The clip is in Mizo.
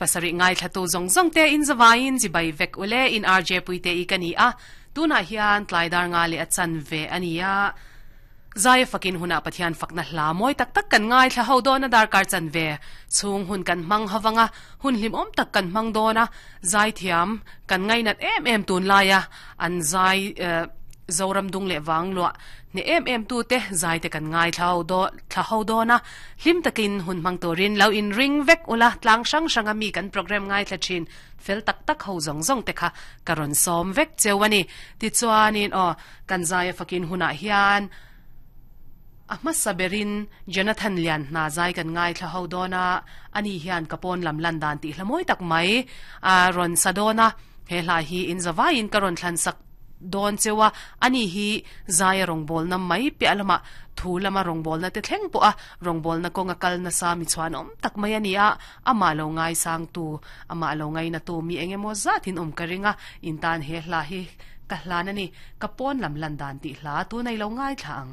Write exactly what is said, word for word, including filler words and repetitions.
pasarih ngaithla tu zawng zawng te in zawain chibai vek ule in R J Puite i ka ni a tunah hian tlaidar nga leh a chan ve ania zai fakin huna Pathian fakna hla moi tak tak kan ngai thla ho dona dar kar chan ve chung hun kan mang hawanga hun hlim om tak kan mang dona zai thiam kan ngai nat em em tun laia an zai zoram dung le wang lo ne em em tu te zai te kan ngai thlau do thla ho dona hlim takin hun mang torin lo in ring vek ula tlang sang sanga mi kan program ngai thla thin fel tak tak ho zong zong te kha karon som vek chewani ti chuanin o kan zai fakin huna hian ahma saberin Jonathan Lian na zai kan ngai thla ho dona ani hian kapon lam lan dan ti hlamoi tak mai a ron sadona he hla hi in zawain karon thlan sak don chewa ani hi zai rong bol na mai pe alama thu lama rong bol na te thleng po a rong bol na konga kal na sa mi chuan om tak mai ani a ama lo ngai sang tu ama lo ngai na tu mi engemaw zatin om karinga in tan he hla hi ka hlan ani kapon lam lan dan ti hla tu nei lo ngai thlang.